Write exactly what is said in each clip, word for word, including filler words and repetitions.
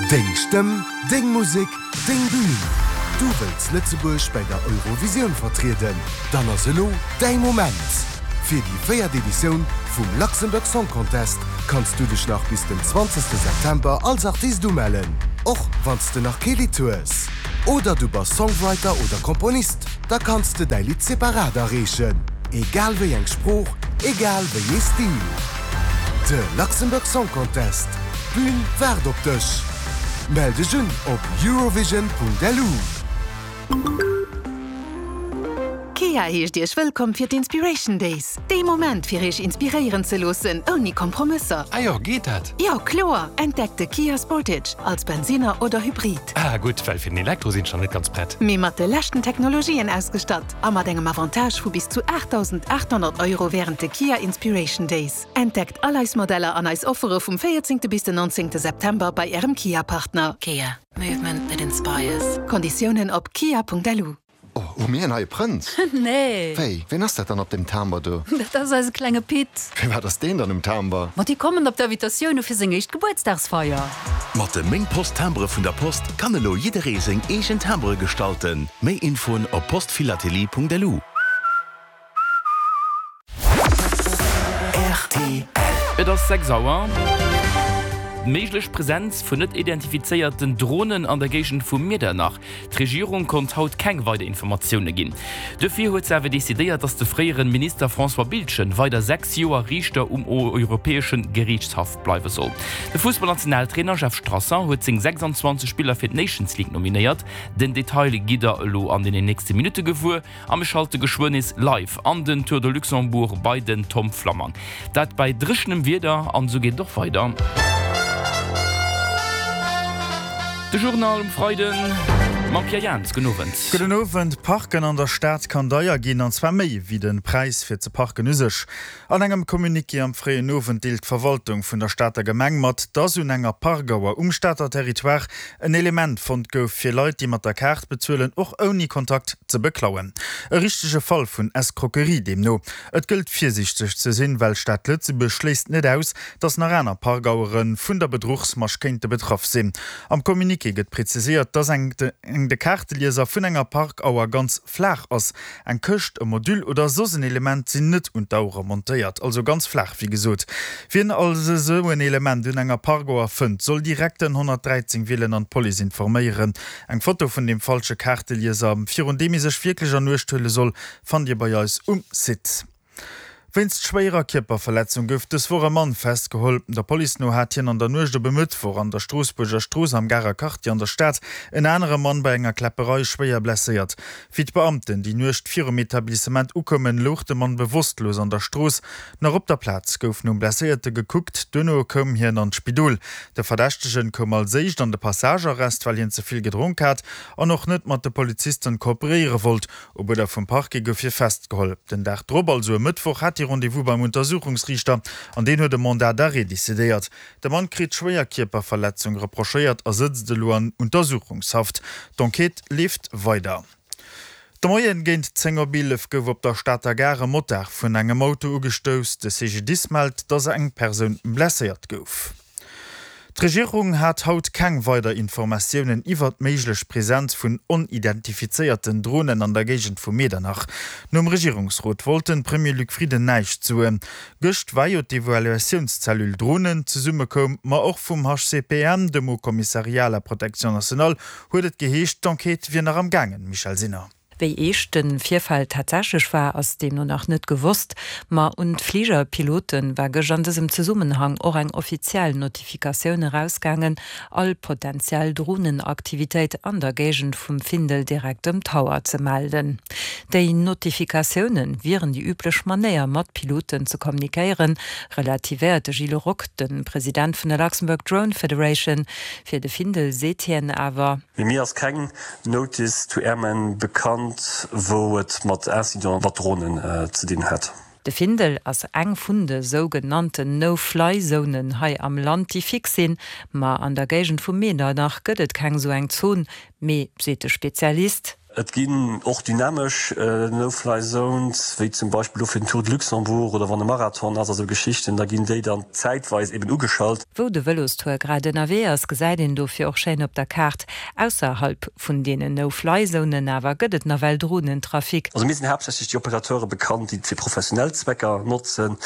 Deng Stëmm, deng Musek, deng Bün! Du wëlls Lëtzebuerg bei der Eurovisioun vertrieden? Dann ass elo däi Moment! Fir déi véiert Editioun vum Luxembourg Song Contest kanns du dech nach bis den zwanzegste September als Artist umellen, och wann s de nach kee Lidd hues. Oder du bass Songwriter oder Komponist, da kanns de däi Lidd separat areechen. Egal wéi eng Sprooch, egal wéi ee Stil. De Luxembourg Song Contest, d'Bün waart op dech! Mell dech un op eurovision.lu. Kia heescht Iech wëllkomm fir d'Inspiration Days. Dee Moment fir Iech inspiréieren ze loossen, ouni Kompromësser. Ah jo, geet dat? Jo, kloer! Entdeckt de Kia Sportage als Bensinner oder Hybrid. Ah gutt, well fir den Elektro sinn ech nach net ganz prett. Mee mat de leschten Technologien ausgestatt a mat engem Avantage vu bis zu aachtdausendaathonnert Euro wärend de Kia Inspiration Days. Entdeckt all eis Modeller an eis Offere vum véierzéngte bis den nonzéngte September bei Ärem Kia-Partner. Kia, movement that inspires. Konditiounen op kia.lu. Oh, hu mir en neie Prënz? Nee. Wéi, ween ass dat dann op deem Timber do? Dat ass eise klenge Pit. Firwat ass deen dann um Timber? Ma déi kommen op d'Invitatioune fir seng éischt Gebuertsdagsfeier. Mat de Meng Post Timbere vun der Post kann elo jidderee seng eegen Timbere gestalten. Méi Infoen op postphilatelie.lu. Et ass sechs Auer. Méiglech Presenz vun net identifizéierten Dronen an der Géigend vu Miedernach. D'Regierung konnt haut keng weider Informatioune ginn. Dofir huet se awer decidéiert, datt de fréiere Minister François Biltgen weider sechs Joer Riichter um Europäesche Geriichtshaff bleiwe soll. De Fussballnationaltrainer Jeff Strasser huet seng sechsanzwanzeg Spiller fir d'Nations League nominéiert. Den Detail gitt der elo an den nächste Minutte gewuer. A mir schalte geschwënn nees live an den Tour de Luxembourg bei den Tom Flammang. Dat bei dréchenem Wieder an esou geet et och weider. De Journal um Freiden mam Pierre Jans. Gudden Owend. Gudden Owend. Parken an der Stad kann deier ginn, an zwar méi wéi de Präis fir ze parken u sech. An engem Communiqué am fréien Owend deelt d'Verwaltung vun der Stater Gemeng mat, dass un enger Parkauer um Stater Territoire en Element fonnt gouf, fir Leit, déi mat der Kaart bezuelen, och ouni Kontakt ze beklauen. E richtege Fall vun Escroquerie deemno. Et gëllt virsiichteg ze sinn, well d'Stad Lëtzebuerg schléisst net aus, dass nach aner Parkauere vun der Bedruchsmasch kéinte betraff sinn. Am Communiqué gëtt preziséiert, dass eng de Kaartelieser vun enger Parkauer ganz flaach ass. Eng Këscht, e Module oder soss en Element sinn net un d'Auere montéiert, also ganz flaach wéi gesot. Wien also esou en Element un enger Parkauer fënnt, soll direkt den honnertdräizéng wielen an d'Police informéieren. Eng Foto vun deem falsche Kaartelieser, virun deem ee sech wierklech an Uecht huele soll, fannt Dir bei eis um Site. Wéinst schwéierer Kierperverletzung gouf dës Woch e Mann festgeholl. Der Police no hat hien an der Nuecht op e Mëttwoch an der Stroossbuerger Strooss am Garer Quartier an der Stad en anere Mann bei enger Kläpperei schwéier blesséiert. Wéi d'Beamten déi Nuecht virum Etablissement ukoumen, louch de Mann bewosstlos an der Strooss. Nach op der Plaz gouf nom Blesséierte gekuckt, duerno koum hien an d'Spidol. De Verdächtegen koum als éischt an de Passagearrest, well hien ze vill gedronk hat an och net mat de Polizisten kooperéiere wollt. Op Uerder vum Parquet gouf hie festgeholl. Den Dag drop, also e Mëttwoch, hat hie Rendez-vous beim Untersuchungsriichter an deen huet e Mandat d'arrêt decidéiert. De Mann kritt schwéier Kierperverletzung reprochéiert a sëtzt elo an Untersuchungshaft. D'Enquête leeft weider. De Moien géint zéng op eelef gouf op der Stater Gare e Motard vun engem Auto ugestouss. De C G D I S mellt, dass eng Persoun blesséiert gouf. D'Regierung hat haut keng weider Informatiounen iwwert d'méiglech Presenz vun onidentifizéierten Dronen an der Géigend vu Medernach. Nom Regierungsrot wollt de Premier Luc Frieden näischt soen. Gëscht war jo d'Evaluatiounszellule Dronen zesummekoum, ma och vum H C P N, dem Haut Commissariat à la Protection nationale, huet et geheescht, d'Enquête wier nach am gaangen. Michèle Sinner. Wéi eescht de Virfall tatsächlech war, ass deemno nach net gewosst, ma un d'Fligerpilote war gëscht an dësem Zesummenhang och eng offiziell Notifikatioun erausgaangen, all potentiell Dronenaktivitéit an der Géigend vum Findel direkt dem Tower ze melden. Déi Notifikatioune wieren déi üblech Manéier mat Piloten ze kommunikéieren, relativéiert de Gilles Rock, de President vun der Luxembourg Drone Federation. Fir de Findel seet hien awer. Mir ass keng Notice to Airmen bekannt, wou et mat Incident mat Dronen ze dinn hätt. De Findel ass eng vun de sougenannten No-Fly-Zonen hei am Land, déi fix sinn, ma an der Géigend vu Medernach gëtt et keng sou eng Zon, mee, seet de Spezialist. Et ginn och dynamesch No-Fly Zones, wéi zum Beispill elo fir den Tour de Luxembourg oder wann e Marathon ass a sou Geschichten, da ginn déi dann zäitweis eben ugeschalt. Wou de Vëlostour grad ënnerwee ass, gesäit een dofir och schéin op der Kaart. Ausserhalb vun deenen No-Fly-Zonen awer gëtt et nawell Dronentrafic. Also mir sinn haaptsächlech déi Opérateure bekannt, déi et fir professionell Zwecker notzen.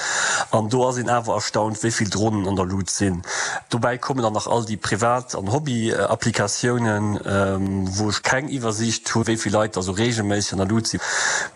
An do ass een awer erstaunt, wéi vill Dronen an der Lut sinn. Dobäi kommen dann nach all déi Privat an Hobby-Applikatiounen, wou ech keng Iwwersiicht hu wéi vill Leit da sou reegelméisseg an der Lut sinn.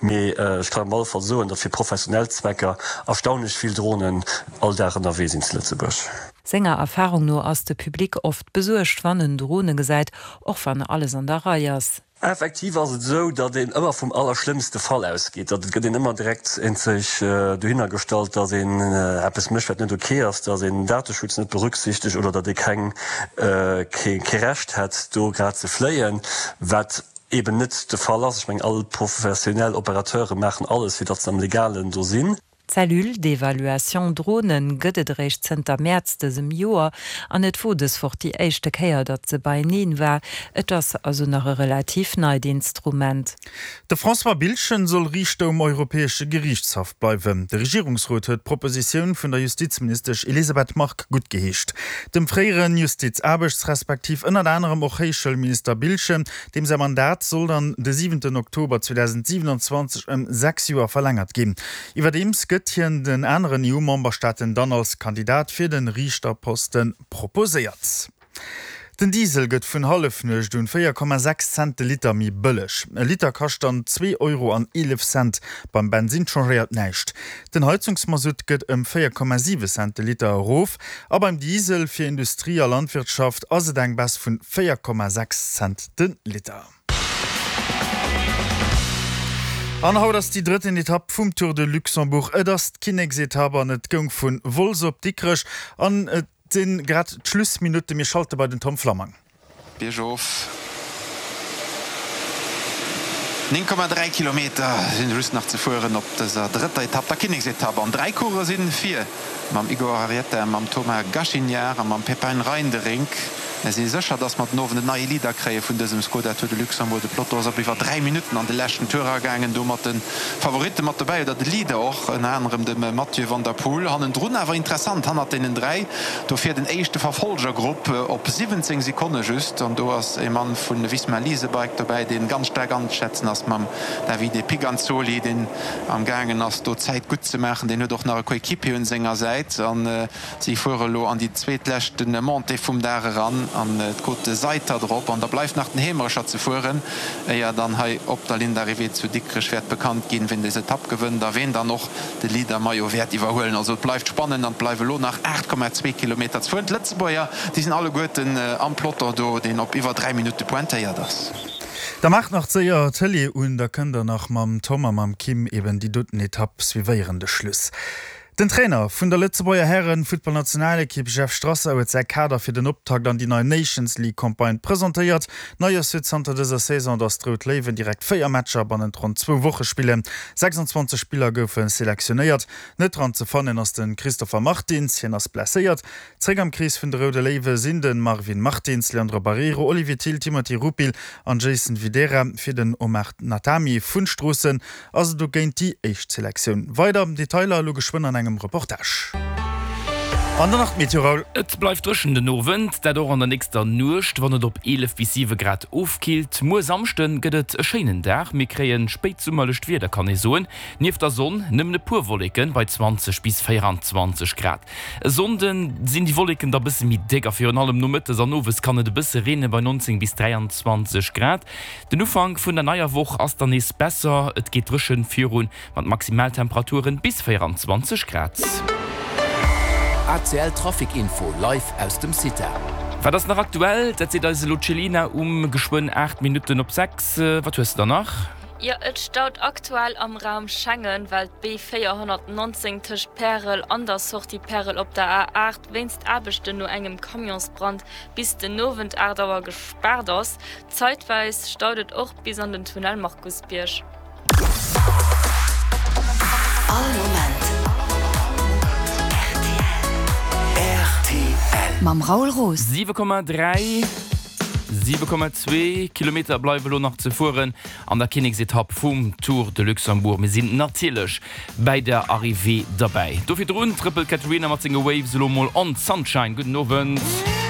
Mee ech kann op alle Fall soen, datt fir professionell Zwecker erstaunlech vill Dronen all Dag ënnerwee sinn zu Lëtzebuerg. Senger Erfarung no ass de Public oft besuergt, wann en Drone gesäit, och wann alles an der Rei ass. Effektiv ass et esou, datt een ëmmer vum allerschlëmmste Fall ausgeet. Datt et gëtt een ëmmer direkt eenzeg dohinner gestallt, datt een eppes mécht, wat net ok ass, datt een den Dateschutz net berücksichtegt oder datt ee keng, kee Recht hätt, do grad ze fléien, wat eben net de Fall ass. Ech mengen, all professionell Opérateure maachen alles, fir datt se am Legalen do sinn. D'Cellule d'évaluation Dronen gëtt et eréischt zënter Mäerz dësem Joer an et wor dës Woch déi éischte Kéier, datt se beieneen war. Et ass also nach e relativ neit Instrument. De François Biltgen soll Riichter um Europäesche Geriichtshaff bleiwen. De Regierungsrot huet d'Propositioun vun der Justizministesch Elisabeth Margue guttgeheescht. Dem fréieren Justiz-, Aarbechts respektiv ënnert anerem och Héichschoulminister Biltgen, deem säi Mandat soll dann de siwenten Oktober zweedausendsiewenundzwanzeg ëm sechs Joer verlängert ginn. Iwwerdeems gëtt hien den aneren E U-Memberstaaten dann als Kandidat fir de Riichterposte proposéiert. Den Diesel gëtt vun Hallefnuecht un véier Komma sechs Cent de Liter méi bëlleg. E Liter kascht dann zwee Euro an eelef Cent. Beim Bensinn changéiert näischt. Den Heizungsmasutt gëtt ëm véier Komma siwe Cent de Liter erof a beim Diesel fir Industrie a Landwirtschaft ass et eng Baisse vun véier Komma sechs Cent de Liter. An haut ass déi drëtten Etapp vum Tour de Luxembourg. Et ass d'Kinneksetapp an et goung vu Wolz op Dikrech an et sinn grad d'Schlussminutte. Mir schalte bei den Tom Flammang. Biergof. néng Komma dräi Kilometer sinn just nach ze fueren op dëser drëtter Etapp, der Kinneksetapp. An dräi Coureuren sinn vir, mam Igor Arrieta, mam Thomas Gachignard a mam Pepijn Reinderink. Mir si sécher, dass mer den Owend en neie Leader kréie vun dësem Skoda Tour de Luxembourg. De Peloton ass op iwwer dräi Minutten an de leschten Tour eragaangen, do mat de Favoritte mat dobäi oder de Leader och, ënner anerem dem Mathieu van der Poel. Hannendrun awer interessant, hannert deenen dräi, do fiert en éischte Verfolgergrupp op siwwenzéng Sekonne just. An do ass e Mann vu Visma Lease a Bike dobäi, dee ganz staark anzeschätzen ass mam Davide Piganzoli, deen am gaangen ass, do Zäit gutt ze maachen. Deen huet och nach e Coéquipier un senger Säit. An si fuere elo an déi zweetleschte Montée vum Dag eran an d'Côte de Seiter drop. An da bleift nach den Heemerecher ze fueren, éier dann hei op der Ligne d'arrivée zu Dikrech wäert bekannt ginn, wien des Etapp gewënnt a wien dann och de Leader-Maillot wäert iwwerhuelen. Also et bleift spannend an et bleiwe elo nach aacht Komma zwee Kilometer ze fueren. D'Lëtzebuerger, déi sinn alleguerten am Peloton do, deen op iwwer dräi Minutte pointéiert ass. Da maacht nach séier d'Tëlee un, da kënnt der nach mam Tom a mam Kim eben déi doten Etapp suivéieren. De Schluss. Den Trainer vun der Lëtzebuerger Hären-Futtballnationalekipp Jeff Strasser huet säi Kader fir den Optakt an déi nei Nations League Campagne presentéiert. Nei ass jo zanter dëser Saison, datt d'Rout Léiwen direkt véier Matcher bannent ronn zwou Woche spillen. sechsundzwanzeg Spiller goufe selektionéiert. Net dran ze fannen ass de Christopher Martins, hien ass blesséiert. Zréck am Krees vun de Roude Léiwe sinn de Marvin Martins, Leandro Barreiro, Olivier Thill, Timothy Rupil an Jason Videira. Fir den Omar Natami vun Stroossen ass et dogéint déi éischt Selektioun. Weider Detailer elo geschwënn an engem Reportage. An dann nach d'Meteo, Raoul. Et bleift dréchen den Owend, dat och an der nächster Nuecht, wann et op eelef bis siwe Grad ofkillt. Muer Samschde gëtt et e schéinen Dag, mir kréie spéitsummerlecht Wieder kann ee soen. Nieft der Sonn nëmmen e puer Wolleke bei zwanzeg bis véieranzwanzeg Grad. E Sonnde sinn déi Wolleken da bësse méi déck a virun allem nomëttes an owes kann et e bësse reene bei neunzéng bis dräianzwanzeg Grad. Den Ufank vun der neier Woch ass dann nees besser, et geet dréchen virun mat Maximaltemperaturen bis véieranzwanzeg Grad. A C L Trafic Info live aus dem CITA. Wat ass nach aktuell? Dat seet eis elo d'Chelina um geschwënn aacht Minutten op sechs. Wat hues de dann nach? Jo, et staut aktuell am Raum Schengen, well d'B véierhonnertnonzéng tëscht Pärel an der Sortie Pärel op der A aacht wéinst Aarbechten no engem Camionsbrand bis den Owend aacht Auer gespaart ass. Zaitweis staut et och bis an den Tunnel Markusbierg. All Moment rtl. Mam Raoul Roos. Siwe Komma dräi Siwe Komma zwee Kilometer bleiwe lo nach ze fueren an der Kinneksetapp vum Tour de Luxembourg. Mir sinn natierlech bäi der Arrivée derbäi. Do virdrun trëppelt d'Katerina mat senge Waves elo mol on Sunshine. Gudden Owend.